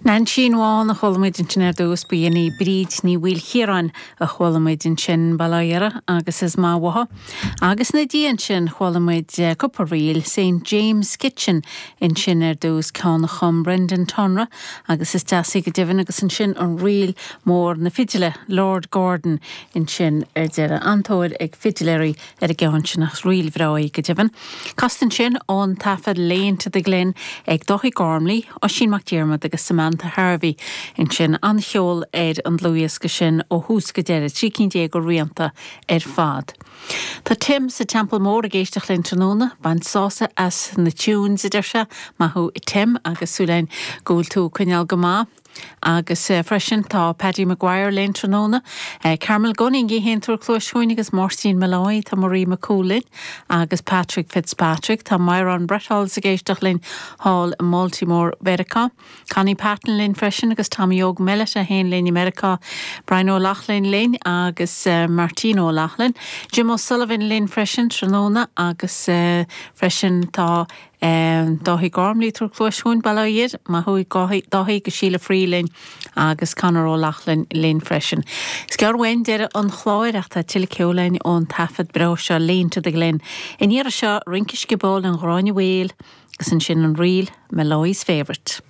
Neainsín Bhán a chuala muid ansin ar dtús, ba in í Bríd Ní Mhaoilchiaráin a chuala muid ansin, Baile Átha Dhoire agus is maith uathu. Agus ina diaidh ansin chuala muid cúpla ríl, Saint James Kitchen ansin ar dtús, ceann a chum Brendan Tonra agus is deas í go deimhin agus ansin an ríl mór na fidile, Lord Gordon ansin ar deireadh. An-tóir ag fidiléirí ar an gceann sin ach ríl bhreá í go deimhin. Casta ansin ón taifead Lane to the Glen ag Dáithí Gormley, Oisín Mac Diarmad agus Samantha Harvey ansin. An-cheol ar an dlúthdhiosca sin ó thús go deireadh, 13 cinn de rianta ar fad. Tá Tim sa Teampall Mór ag éisteacht linn tráthnóna. Baint sásamh as na tunes, a deir sé. Maith thú a Tim agus súil againn go bhfuil tú ag coinneáil go maith. Agus freisin tá Paddy Maguire linn tráthnóna, Carmel Gunning í fhéin ag tabhairt cluais chugainn agus Máirtín Molloy, tá Marie McCool linn agus Patrick Fitzpatrick, tá Myron Bretholz ag éisteacht linn thall i mBaltimore Mheiriceá, Connie Patton linn freisin agus Tommy Óg Mellett é fhéin linn i Meiriceá, Brian Ó Loughlin linn agus Martin Ó Loughlin, Jim O'Sullivan linn freisin tráthnóna agus freisin tá Dáithí Gormley ag tabhairt cluais chugainn, Baile Átha Dhoire, maith thú Dáithí, agus Síle Free linn agus Conor Ó Loughlin linn freisin. Is gearr uainn deireadh an chláir ach tá tuilleadh ceoil againn ón taifead breá seo Lane to the Glen. I ndiaidh seo, Rince Sciobóil an Ghráinne Mhaol agus ansin an ríl Molloy's Favourite.